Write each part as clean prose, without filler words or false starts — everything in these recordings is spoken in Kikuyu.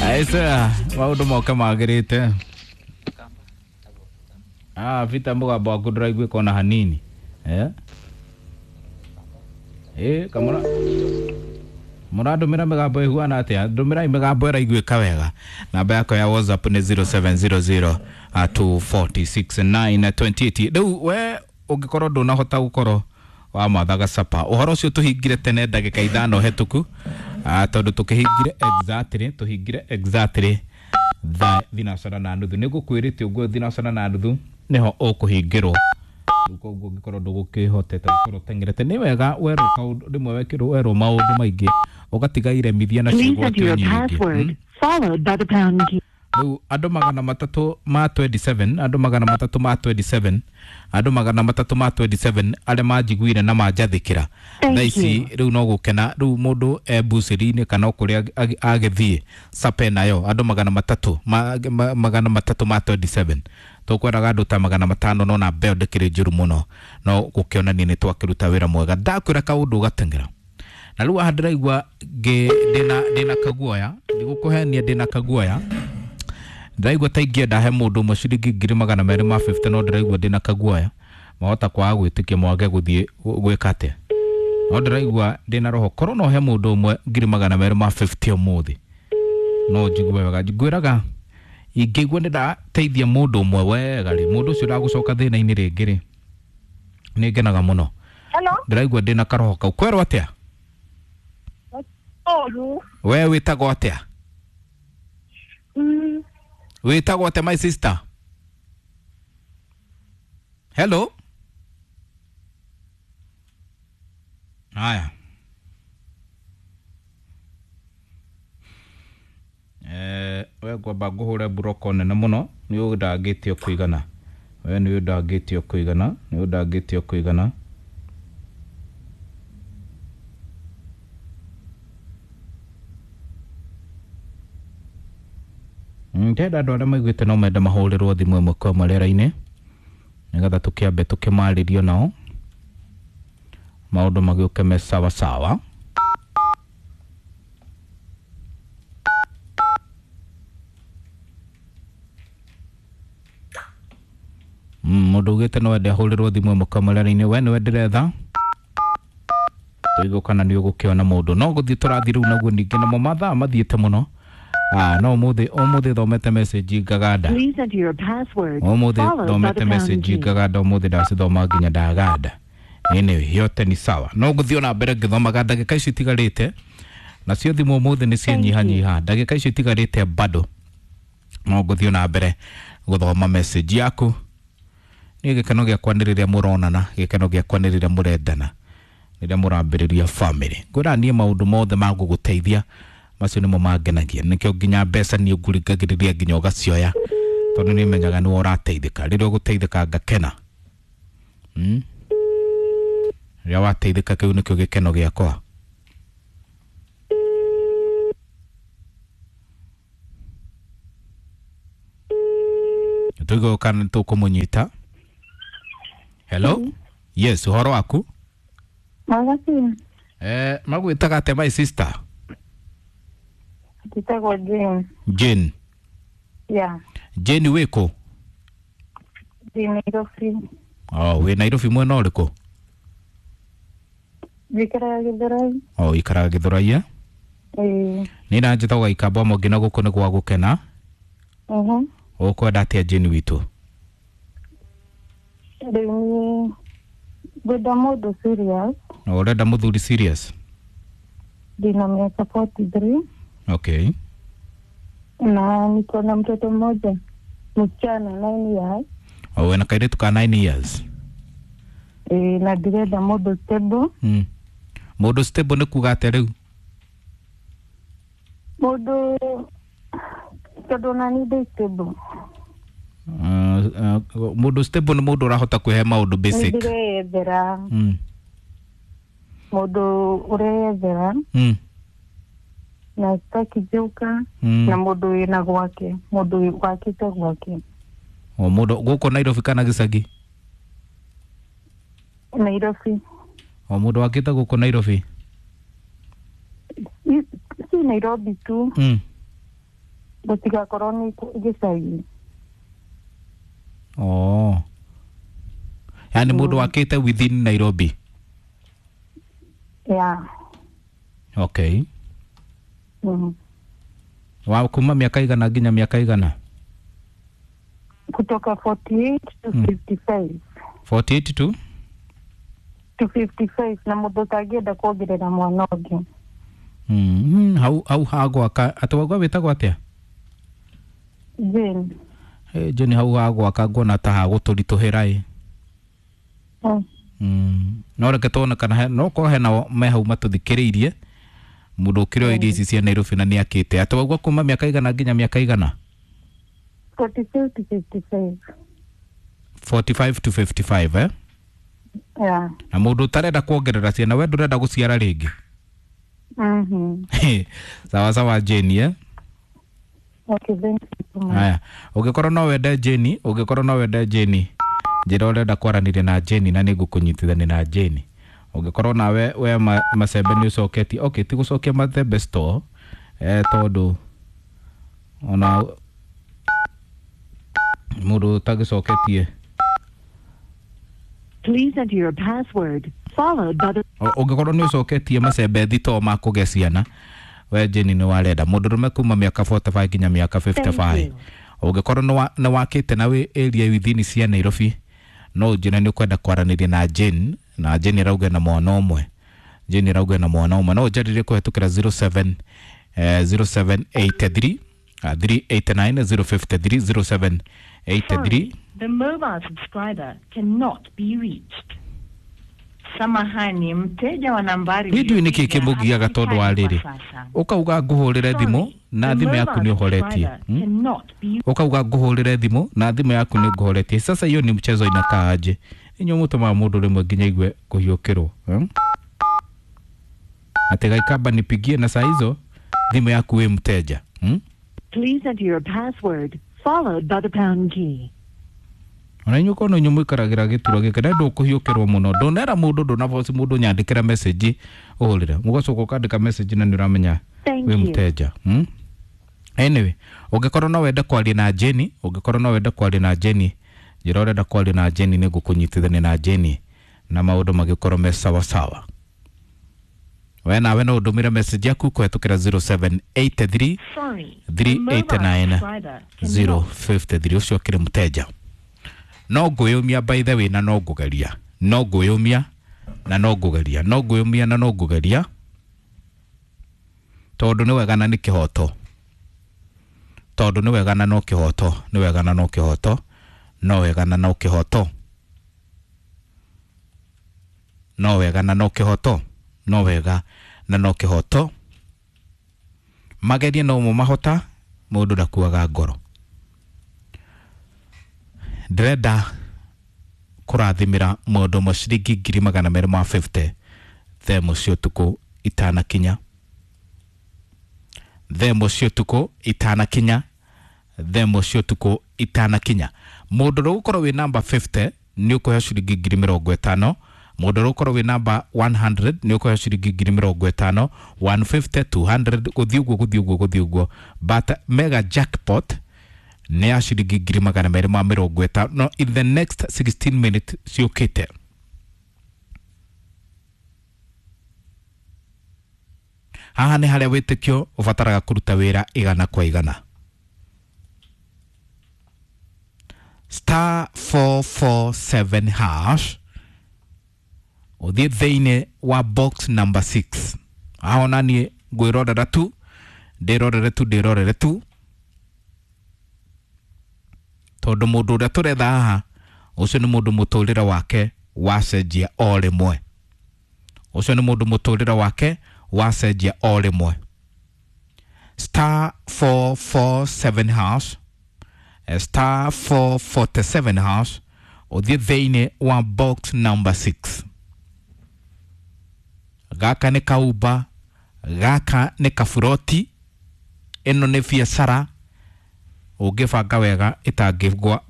Aisa, maũndũ moke magĩrĩte. Ah, vita mũgambo waku ndũraiguĩka ona hanini. Eh? Eh, kamũra mũrandũmĩra mĩgambo ĩhuana atĩa? Ndũmĩrai mĩgambo ĩraiguĩka wega. Namba yakwa ya WhatsApp nĩ 0700 246 928. Rĩu we ũngĩkorwo ndũnahota gũkorwo wamathaga capa, ũhoro ũcio tũhingire tene ndagĩka 5 hetũku, tondũ tũkĩhingire exactly, tũhingire exactly thaa 6:30. Nĩ ngũkwĩrĩte ũguo, 6:30 nĩho ũkũhingĩrwo. Rĩu koguo ũngĩkorwo ndũgũkĩhotete gũkorwo ũteng'erete, nĩ wega werwo kaũndũ rĩmwe, wekĩrwo werwo maũndũ maingĩ ũgatiga iremithia na Please ciĩgwatio enter your nyingĩ. password followed by the pound key. Rĩu andũ 327, andũ 327, andũ 327 arĩa manjiguire na manjathĩkĩra Thank thaa ici you. rĩu no gũkena. Rĩu mũndũ e bucĩrĩ-inĩ kana o kũrĩa agĩthiĩ sape nayo, andũ 327, tũkwendaga andũ ta 500, no namba ĩyo ndĩkĩrĩ njũru mũno, no gũkĩonania nĩ twakĩruta wĩra mwega. Ndakwĩra kaũndũ ũgateng'era na rĩu haha ndĩraigua ndĩna kaguoya, ndigũkũhenia, ndĩna kaguoya. Ndĩraigua ta ingĩenda he mũndũ ũmwe ciringi 250,000, no ndĩraigua ndĩna kaguoya, mahota kwaga gwĩtĩkia, mwage gũthiĩ gwĩka atĩa, no ndĩraigua ndĩna roho korwo no he mũndũ ũmwe 250,000 ũmũthĩ, no njigue wega. Ngwĩraga ingĩigua nĩ ndateithia mũndũ ũmwe wega rĩ, mũndũ ũcio ndagũcoka thĩna-inĩ rĩngĩ rĩ, nĩ ngenaga mũno. Hello. Ndĩraigua ndĩna karoho kau. Kwerwo atĩa? Oru. We wĩtagwo atĩa? Wĩtagwo atĩa, my sister? Hello. Haya, we ngwamba ngũhũre mburoko nene mũno, nĩ ũndangĩtio kũigana. We nĩ ũndangĩtio kũigana, nĩ ũndangĩtio kũigana. Ndĩrenda andũ arĩa maiguĩte no mende mahũrĩrwo thimũ ĩmwe kwa ĩmwe rĩera-inĩ, nĩgetha tũkĩambe tũkĩmarĩrio nao, maũndũ magĩũke me sawa sawa. Mũndũ ugĩte no ende ahũrĩrwo thimũ ĩmwe kwa ĩmwe rĩera-inĩ, we nĩwe ndĩretha, tũigue kana nĩ ũgũkĩona mũndũ. No gũthiĩ tũrathiĩ rĩu naguo ningĩ namo mathaa mathiĩte mũno. Ah, no ũmũthĩ, ũmũthĩ thomete message ngaganda. Please enter your password Ũmũthĩ followed by thomete the pound message key. ngaganda, ũmũthĩ ndacithoma nginya ndaganda. Anyway, yote ni sawa, no ngũthiĩ ona mbere ngĩthomaga ndagĩka icio itigarĩte, nacio thimũ ũmũthĩ nĩ cianyihanyiha. Ndagĩka icio itigarĩte bado no ngũthiĩ ona mbere gũthoma message yaku. Niĩ gĩkeno gĩakwa nĩ rĩrĩa mũronana, gĩkeno gĩakwa nĩ rĩrĩa mũrendana, rĩrĩa mũrambĩrĩria family. Ngwĩra niĩ maũndũ mothe ma gũgũteithia macio nĩmo mangenagia, nĩkĩo nginya mbeca niĩ ngũringagĩrĩria nginya ũgacioya, tondũ nĩ menyaga nĩwe ũrateithĩka. Rĩrĩa ũgũteithĩka ngakena. Rĩrĩa wateithĩka, kĩu nĩkĩo gĩkeno gĩakwa. Tũigue kana nĩ tũkũmũnyita. Hello, yes, ũhoro waku? Mwega biũ. Eh, magwĩtaga atĩa, my sister? Njĩtagwo Jane. Jane? Yeah. Jane, wĩkũ? Ndĩ Nairobi. Oh, wĩ Nairobi mwena ũrĩkũ? Njikaraga Gĩthũrai. Oh, ikaraga Gĩthũrai, eh? Ĩĩ. Nĩ na njĩtagwo Gĩkamba Mũngĩ na gũkũ nĩ gwa gũkena. Ũkwenda atĩa, Jane witũ? Rĩu niĩ ngwenda mũndũ serious. Na ũrenda mũthuri serious? Ndĩna miaka 43. Na niko na mtoto mmoja msichana 9 years. O wĩna kairĩtu ka 9 years? Ĩĩ, na ndĩrenda mũndũ stable. Mũndũ stable nĩ kuga atĩa rĩu? Mũndũ, tondũ ona niĩ ndĩ stable. Mũndũ stable nĩ mũndũ ũrahota kwĩhe maũndũ Nĩ basic. ndĩreyethera. Mũndũ ũreyethera na sitaki joka na mũndũ wĩna gwake, mũndũ wakĩte gwake. O mũndũ gũkũ Nairobi kana gĩcagi? Nairobi. O mũndũ wakĩte gũkũ Nairobi? Si Nairobi tu. Gũtigakorwo nĩ gĩcagi. Oh, yani mũndũ wakĩte within Nairobi. Yeah. Okay. Wa kuma miaka igana nginya miaka igana? Kutoka 48 to 55. 48 to to 55, na mũndũ ũtangĩenda kuongerera mwana ũngĩ. Hau hau hagwaka atĩ wauga wĩtagwo atĩa? Jane. Hey, Jane, hau hagwaka nguona ta hagũtũritũhĩra ĩ. No reke tuone kana no korwo hena me hau matũthikĩrĩirie mũndũ ũkĩrĩ o iria ici cia Nairobi na nĩ akĩte. Atĩ waugua kuma miaka igana nginya miaka igana? 45 to 55. 45 to 55, eh? Yeah. Na mũndũ ũtarenda kuongerera ciana, we ndũrenda gũciara rĩngĩ? Sawa sawa, Jane, eh? Okay, thank you so much. Haya, ũngĩkorwo no wende Jane, ũngĩkorwo no wende Jane, njĩra ũrenda kwaranĩria na Jane na nĩngũkũnyitithania na Jane. Ũngĩkorwo nawe we macembe nĩ ũcoketie, okay, ti gũcokia macembe store, tondũ ona mũndũ ũtagĩcoketie. Please enter your password followed by the Ũngĩkorwo nĩ ũcoketie macembe thitoo ma kũgĩa ciana, we Jane nĩ warenda mũndũrũme kuma mĩaka 45 nginya mĩaka 55. Ũngĩkorwo nĩ wakĩte na wĩ area within cia Nairobi, no ũnjĩre nĩ ũkwenda kwaranĩria na Jane, na Jane arauga na mwana ũmwe. Jane arauga na mwana ũmwe. No ũnjarĩrie kũhetũkĩra 07 0783 389 053 0783. The mobile subscriber cannot be reached. Samahani, mteja wa nambari Niĩ ndiũĩ nĩkĩ kĩmũgiaga tondũ wa rĩrĩ ũkauga ngũhũrĩre thimũ na thimũ yaku nĩ ũhoretie. Ũkauga ngũhũrĩre thimũ na thimũ yaku nĩ ngũhoretie. Sasa hiyo ni mchezo inakaa aje? Inyuĩ mũtũmaga mũndũ rĩmwe nginya igue kũhiũkĩrwo, Atĩ gaikamba nipigie na saa hizo thimũ yaku wĩ mteja. Please enter your password followed by the pound key. Ona inyuĩ korwo no inyuĩ mũikaragĩra gĩturwa gĩkĩ na ndũkũhiũkĩrwo mũno, ndũnera mũndũ, ndũnaboci mũndũ nyandĩkĩra message ũhũrĩre, mũgacoka ũkandĩka message na nĩ ũramenya wĩ mũteja. Anyway, ũngĩkorwo no wende kwaria na Jenny, ũngĩkorwo no wende kwaria na Jenny, njĩra ũrenda kwaria na Jenny nĩ ngũkũnyitithania na Jenny na maũndũ magĩkorwo me sawa sawa. We nawe no ũndũmĩre message yaku kũhetũkĩra 0783 389 053. Ũcio akĩrĩ mũteja. No ngwĩyũmia by the way na no ngũgeria, no ngwĩyũmia na no ngũgeria, no ngwĩyũmia na no ngũgeria, tondũ nĩ wega na nĩ kĩhoto, tondũ nĩ wega na no kĩhoto, nĩ wega na no kĩhoto, no wega na no kĩhoto, no wega na no kĩhoto, no wega na no kĩhoto. Magerie no mo mahota, mũndũ ndakuaga ngoro. Ndĩrenda kũrathimĩra mũndũ ũmwe ciringi 250,000 thaa ĩmwe cia ũtukũ itanakinya, thaa ĩmwe cia ũtukũ itanakinya, thaa ĩmwe cia ũtukũ itanakinya. Mũndũ ũrĩa ũgũkorwo wĩ namba 50 nĩ ũkũheo ciringi 50,000. Mũndũ ũrĩa ũgũkorwo wĩ namba 100 nĩ ũkũheo ciringi 50,000, 150, 200, gũthiĩ ũguo gũthiĩ ũguo gũthiĩ ũguo. But mega jackpot nĩ ya ciringi 250 in the next 16 minutes ciũkĩte. Haha nĩ harĩa wĩtĩkio ũbataraga kũruta wĩra igana kwa igana. Star 447 hash ũthiĩ thĩinĩ wa box number 6. Haha ona niĩ ngwĩrorera tu, ndĩrorere tu, ndĩrorere tu, tondũ mũndũ ũrĩa tũretha haha ũcio nĩ mũndũ mũtũrĩre wake wacenjia o rĩmwe. Ũcio nĩ mũndũ mũtũrĩre wake wacenjia o rĩmwe. Star 447 hash, star 447 hash, ũthiĩ thĩinĩ wa box number 6. Gaka nĩ kauba, gaka nĩ kaburoti, ĩno nĩ biacara ũngĩbanga wega ĩtangĩgwa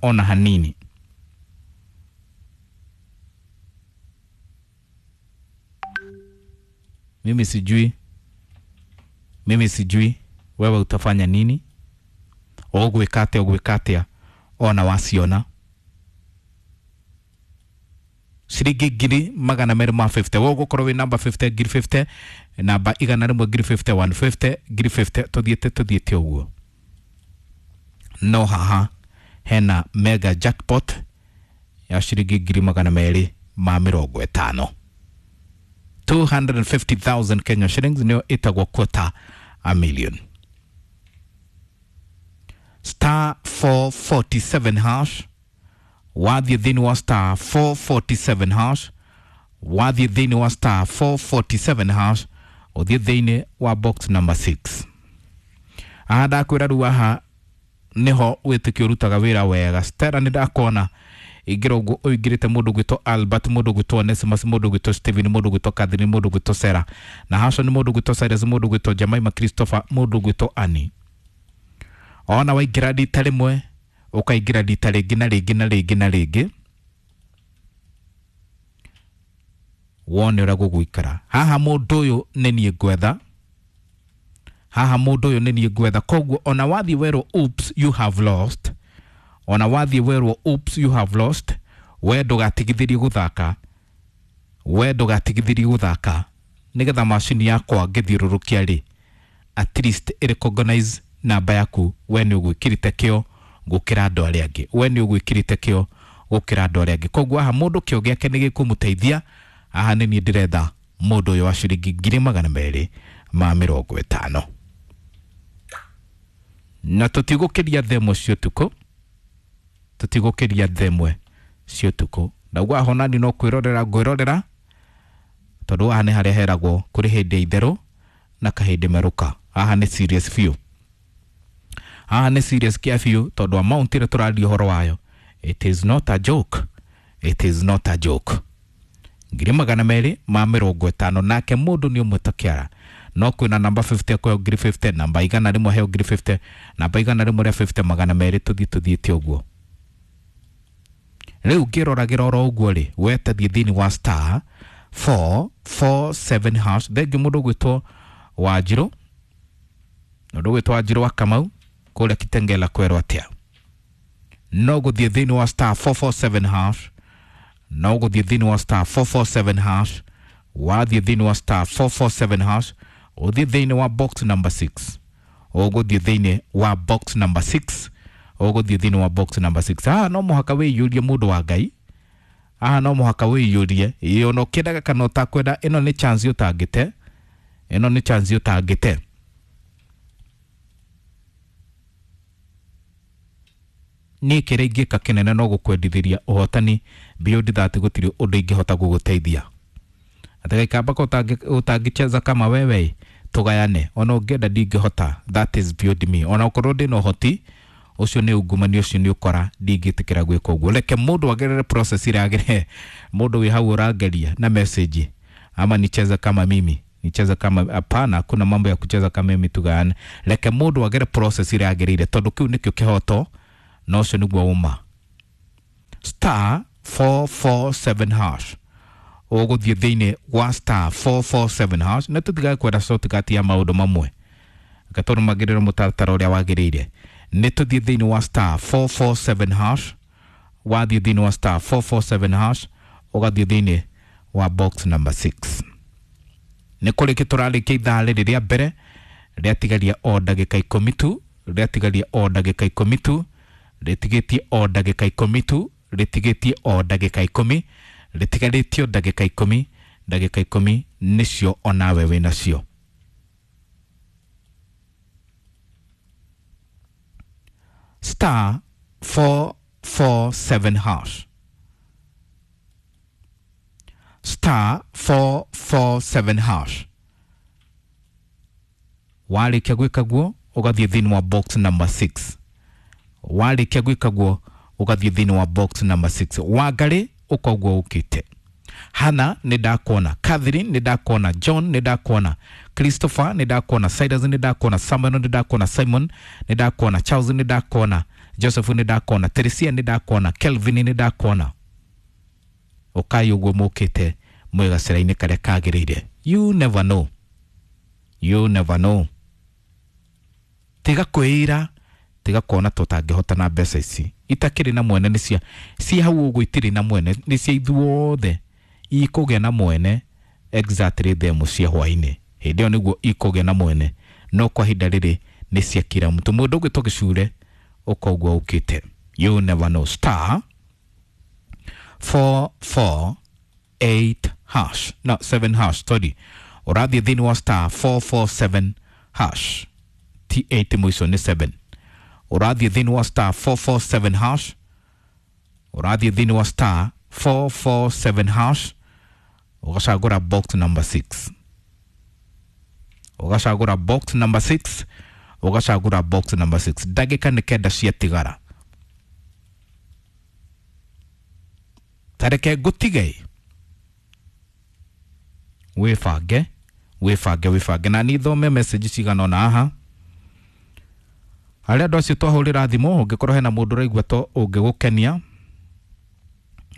ona hanini. Mimi sijui, mimi sijui Wewe utafanya nini? Ũgwĩka atĩa? Ũgwĩka atĩa ona waciona ciringi 250,000? We ũgũkorwo wĩ namba 50 ngiri 50, namba 100 ngiri 50, 150 ngiri 50, tũthiĩte tũthiĩte ũguo. No haha hena mega jackpot ya ciringi 250,000, 250,000 Kenya shillings, nĩyo ĩtagwo quarter a million. Star 447 hash, wathiĩ thĩinĩ wa star 447 hash, wathiĩ thĩinĩ wa star 447 hash, ũthiĩ thĩinĩ wa box number 6. Aha ndakwĩra rĩu haha nĩho wĩtĩkio ũrutaga wĩra wega. Stella, nĩ ndakuona ingĩra ũguo ũingĩrĩte, mũndũ gwĩtwo Albert, mũndũ gwĩtwo Onesimus, mũndũ gwĩtwo Steven, mũndũ gwĩtwo Catherine, mũndũ gwĩtwo Sarah na Hashon, mũndũ gwĩtwo Cyrus, mũndũ gwĩtwo Jemima Christopher, mũndũ gwĩtwo Annie. Ona waingĩra rita rĩmwe, ũkaingĩra rita rĩngĩ na rĩngĩ na rĩngĩ na rĩngĩ, wone ũrĩa gũgũikara. Haha mũndũ ũyũ nĩ niĩ ngwetha, haha mũndũ ũyũ nĩ niĩ ngwetha. Koguo ona wathiĩ werwo "Oops, you have lost", ona wathiĩ werwo "Oops, you have lost", we ndũgatigithĩrie gũthaka, we ndũgatigithĩrie gũthaka, nĩgetha macini yakwa ngĩthiũrũrũkia rĩ, at least ĩrecognize namba yaku. We nĩ ũgwĩkĩrĩte kĩo gũkĩra andũ arĩa angĩ, we nĩ ũgwĩkĩrĩte kĩo gũkĩra andũ arĩa angĩ. Koguo haha mũndũ kĩo gĩake nĩ gĩkũmũteithia. Haha nĩ niĩ ndĩretha mũndũ ũyũ wa ciringi 250,000, na tũtigũkĩria 1:00 cia ũtukũ, tũtigũkĩria 1:00 cia ũtukũ. Ndauga haha onani no kwĩrorera ngwĩrorera, tondũ haha nĩ harĩa heragwo kũrĩ hĩndĩ ya itherũ na kahĩndĩ merũka. Haha nĩ serious biũ, haha nĩ serious kĩa biũ, tondũ amount ĩrĩa tũraria ũhoro wayo, it is not a joke, it is not a joke. 250,000, nake mũndũ nĩ ũmwe ta kĩara. No kwĩna namba 50 akũheo ngiri 50, namba 100 aheo ngiri 50, namba 100 rĩa 50, 200, tũthiĩ tũthiĩte ũguo. Rĩu ngĩroragĩra oro ũguo rĩ, we tathiĩ thĩinĩ wa star 447 hash. Thengiũ mũndũ gwĩtwo Wanjirũ, mũndũ gwĩtwo Wanjirũ wa Kamau kũrĩa Kitengela, kwerwo atĩa? No gũthiĩ thĩinĩ wa star 447 hash, no gũthiĩ thĩinĩ wa star 447 hash. Wathiĩ thĩinĩ wa star 447 hash, ũthiĩ thĩinĩ wa box number 6, ũgũthiĩ thĩinĩ wa box number 6, ũgũthiĩ thĩinĩ wa box number 6. Haha no mũhaka wĩiyũrie, mũndũ wa Ngai, haha no mũhaka wĩiyũrie. Ĩ ona ũkĩendaga kana ũtakwenda, ĩno nĩ chance ũtangĩte, ĩno nĩ chance ũtangĩte. Niĩ kĩrĩa ingĩka kĩnene no gũkwendithĩria ũhotani. Beyond that gũtirĩ ũndũ ingĩhota gũgũteithia. Atagaikamba ũtangĩcheza kama wewe, tũgayane. Ona ũngĩenda ndingĩhota, that is beyond me. Ona ũkorwo ndĩna ũhoti ũcio, nĩ ungumania, ũcio nĩ ũkora, ndingĩtĩkĩra gwĩka ũguo. Reke mũndũ agerere process ĩrĩa agerere. Mũndũ wĩ hau ũrangeria na message ama nicheze kama mimi, nicheze kama, hapana, kuna mambo ya kucheza kama mimi, tugayane. Reke mũndũ agere process ĩrĩa agereire, tondũ kĩu nĩkĩo kĩhoto na ũcio nĩguo ũma. Star 447 hash, ũgũthiĩ thĩinĩ wa star 447 hash, na tũtigae kwenda shortcut ya maũndũ mamwe, reke tũrũmagĩrĩre mũtaratara ũrĩa wagĩrĩire. Nĩ tũthiĩ thĩinĩ wa star 447 hash. Wathiĩ thĩinĩ wa star 447 hash, ũgathiĩ thĩinĩ wa box number 6. Nĩ kũrĩkia tũrarĩkia ithaa rĩrĩ rĩa mbere, rĩatigaria o ndagĩka 10 tu, rĩatigaria o ndagĩka 10 tu, rĩtigĩtie o ndagĩka 10 tu, rĩtigĩtie o ndagĩka 10, rĩtigarĩtio ndagĩka 10. Ndagĩka 10 nĩcio onawe wĩnacio. Star 447 hash, star 447 hash. Warĩkia gwĩka guo, ũgathiĩ thĩinĩ wa box number 6. Warĩkia gwĩka guo, ũgathiĩ thĩinĩ wa box number 6. Wangarĩ ũkoguo ũkĩte. Hana, nĩ ndakuona. Catherine, nĩ ndakuona. John, nĩ ndakuona. Christopher, nĩ ndakuona. Cyrus, nĩ ndakuona. Samuel, nĩ ndakuona. Simon, nĩ ndakuona. Charles, nĩ ndakuona. Joseph, nĩ ndakuona. Teresia, nĩ ndakuona. Kelvin, nĩ ndakuona. Ũkai ũguo mũkĩte mwĩ gacĩra-inĩ karĩa kagĩrĩire. You never know, you never know. Tiga kwĩira, tiga kuona tũtangĩhota na mbeca ici itakĩrĩ na mwene. Nĩ cia ci hau ũguo, itirĩ na mwene, nĩ cia ithuothe. Ikũgĩa na mwene exactly themo cia hwainĩ, hĩndĩ ĩyo nĩguo ikũgĩa na mwene, no kwa ihinda rĩrĩ nĩ cia kila mtu. Mũndũ ũgwĩtwo gĩcure ũkoguo ũkĩte, you never know. Star 448 hash, no, 7 hash, sorry. Ũrathiĩ thĩinĩ wa star 447 hash, t 8 mũico nĩ 7. Ũrathiĩ thĩinĩ wa star 447 hash, ũrathiĩ thĩinĩ wa star 447 hash, ũgacagũra box number 6, ũgacagũra box number 6, ũgacagũra box number 6. Ndagĩka nĩ 9 ciatigara, tareke ngũtige wĩbange, wĩbange, wĩbange. Na niĩ thome message cigana ũna haha harĩa andũ acio twahũrĩra thimũ. Ũngĩkorwo hena mũndũ ũraigua to ũngĩgũkenia,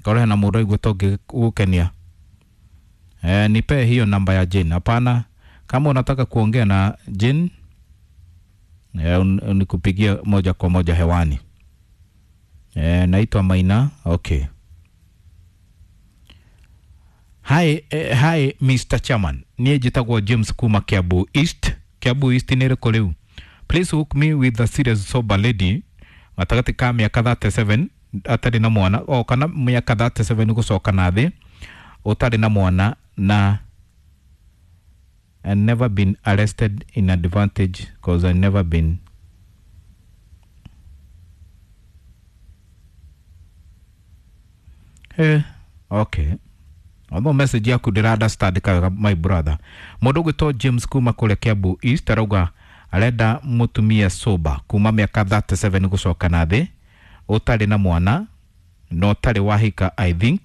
korwo hena mũndũ ũraigua to ũngĩgũkenia, nipe hiyo namba ya Jane. Hapana, kama unataka kuongea na Jane, nikupigie moja kwa moja hewani. Naitwa Maina. Okay. Hi, hi Mr. Chairman. Niĩ njĩtagwo James kuma Kiambu East. Kiambu East nĩ ĩrĩkũ rĩu? Please hook me with a serious sober lady gatagatĩ ka mĩaka 37 atarĩ na mwana, o kana mĩaka 37 gũcoka na thĩ, ũtarĩ na mwana na and never been arrested in advantage, cause I never been. Okay, although message yaku ndĩra understand kawega, my brother. Mũndũ ũgwĩtwo James kuma kũrĩa Kiambu East arauga arenda mũtumia sober kuma mĩaka 37 gũcoka na thĩ, ũtarĩ na mwana na ũtarĩ wahika, I think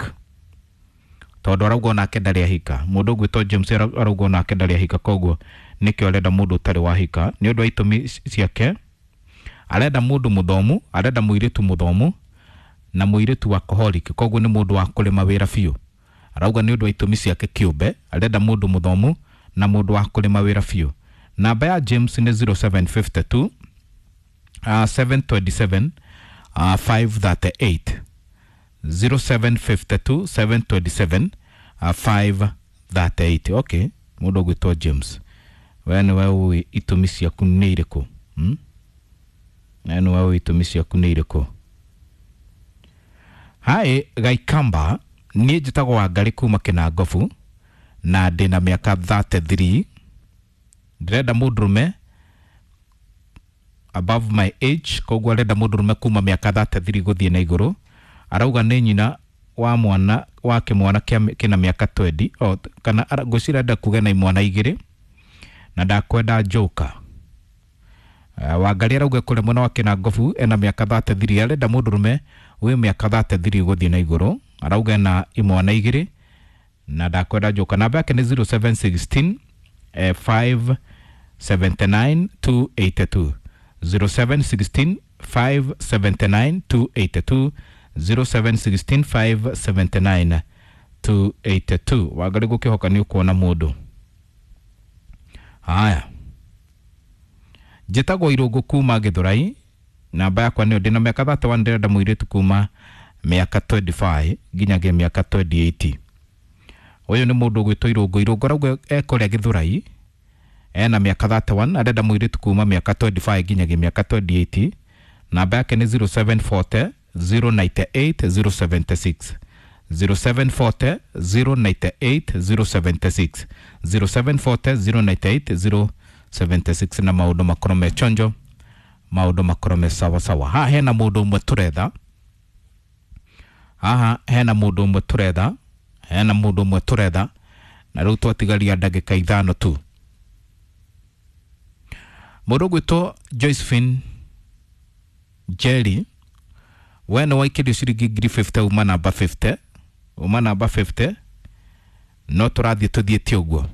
tondũ arauga onake ndarĩ ahika. Mũndũ ũgwĩtwo James arauga onake ndarĩ ahika, koguo nĩkĩo arenda mũndũ ũtarĩ wahika nĩ ũndũ wa itũmi ciake. Arenda mũndũ mũthomu, arenda mũirĩtu mũthomu na mũirĩtu workaholic, koguo nĩ mũndũ wa kũrĩma wĩra biũ. Arauga nĩ ũndũ wa itũmi ciake kĩũmbe arenda mũndũ mũthomu na mũndũ wa kũrĩma wĩra biũ. Namba ya James nĩ 0752 727 538, 0752 727 538. Okay, mũndũ ũgwĩtwo James, we nĩwe ũĩ itũmi ciaku nĩ irĩkũ, We nĩwe ũĩ itũmi ciaku nĩ irĩkũ. Hi Gaikamba, niĩ njĩtagwo Wangarĩ kuma Kĩnangobu na ndĩna mĩaka 33. Ndĩrenda mũndũrũme above my age, koguo arenda mũndũrũme kuma mĩaka 33 gũthiĩ na igũrũ. Arauga nĩ nyina wa mwana wa kĩmwana kĩna mĩaka 20, o, kana ngwĩciria arenda kuga na imwana 2, na ndakwenda njoka. Wangarĩ arauga kũrĩa mwena wa Kĩnangobu ena mĩaka 33, arenda mũndũrũme wĩ mĩaka 33 gũthiĩ na igũrũ. Arauga ena imwana 2 na ndakwenda njoka. Namba yake nĩ 0716 579 282, 0716 579 282, 0716 579 282. Wangarĩ, gũkĩhoka nĩ ũkuona mũndũ. Haya, njĩtagwo Irũngũ kuma Gĩthũrai, namba yakwa nĩyo, ndĩna mĩaka 31, ndĩrenda mũirĩtu kuma mĩaka 25 nginyagia mĩaka 28. Ũyũ nĩ mũndũ ũgwĩtwo Irũngũ. Irũngũ arauga ekũrĩa Gĩthũrai, ena mĩaka 31, arenda mũirĩtu kuma mĩaka 25 nginyagia mĩaka 28. Namba yake nĩ 0740 098 076, 0740 098 076, 0740 098 076. Na maũndũ makorwo me chonjo, maũndũ makorwo me sawa sawa. Haha hena mũndũ ũmwe tũretha, haha hena mũndũ ũmwe tũretha, hena mũndũ ũmwe tũretha, na rĩu twatigaria ndagĩka 5 tu. Mũndũ ũgwĩtwo Josephine Jerry, we nĩ waikĩrio ciringi ngiri 50 uma namba 50, uma namba 50. No tũrathiĩ tũthiĩte ũguo,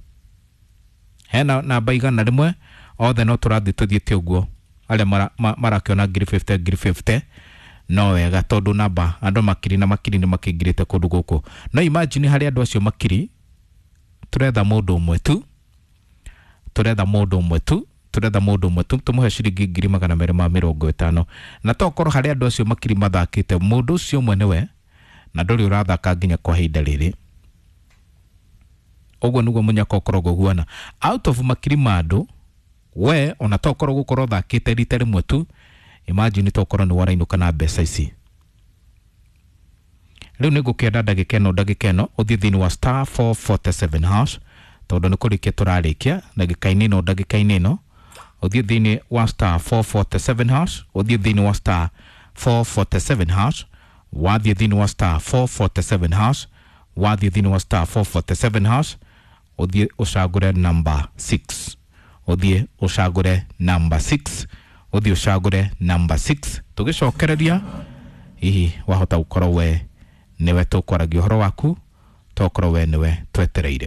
hena namba 100 othe, no tũrathiĩ tũthiĩte ũguo. Arĩa marakĩona ngiri 50, ngiri 50 no wega, tondũ namba andũ makiri na makiri nĩ makĩingĩrĩte kũndũ gũkũ. No imagine harĩ andũ acio makiri, tũretha mũndũ ũmwe tu, tũretha mũndũ ũmwe tu, Tũretha mũndũ ũmwe tũmũhe ciringi 250,000, na tokorwo harĩ andũ acio makiri mathakĩte, mũndũ ũcio ũmwe nĩwe, na ndũrĩ ũrathaka nginya kwa ihinda rĩrĩ. Ũguo nĩguo mũnyaka ũkoragwo ũguana out of makiri ma andũ. We ona tokorwo gũkorwo ũthakĩte rita rĩmwe tu, imagine tokorwo nĩ warainũka na mbeca ici. Rĩu nĩ ngũkĩenda ndagĩka ĩno ũthiĩ thĩinĩ wa *447#, tondũ nĩ kũrĩkia tũrarĩkia ndagĩka-inĩ ĩno. Ũthiĩ thĩinĩ wa *447#, ũthiĩ thĩinĩ wa *447#. Wathiĩ thĩinĩ wa *447#, wathiĩ thĩinĩ wa *447#, ũthiĩ ũcagũre number 6, ũthiĩ ũcagũre number 6, ũthiĩ ũcagũre number 6. Tũgĩcokereria, hihi wahota gũkorwo we nĩwe tũkwaragia ũhoro waku, tokorwo we nĩwe twetereire.